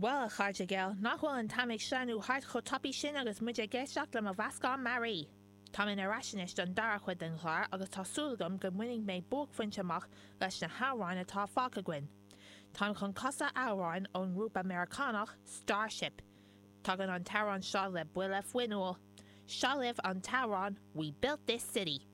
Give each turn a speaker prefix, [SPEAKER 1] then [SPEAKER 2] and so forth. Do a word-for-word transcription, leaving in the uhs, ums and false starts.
[SPEAKER 1] Well a chairde geal nach bhfuil an t-am ag sleamhnú thart chomh tapaidh sin agus muid ag éisteacht le mo mheascán mearaí. Tá mé ar ais anois don dara chuid den chlár agus tá súil agam go mbainfidh mé buaicphointe amach leis na hamhráin atá fágtha againn. Táim chun casadh amhrán ón ngrúpa Meiriceánach Starship. Tagann an t-amhrán seo le buille fuinniúil. Seo libh an t-amhrán We Built This City.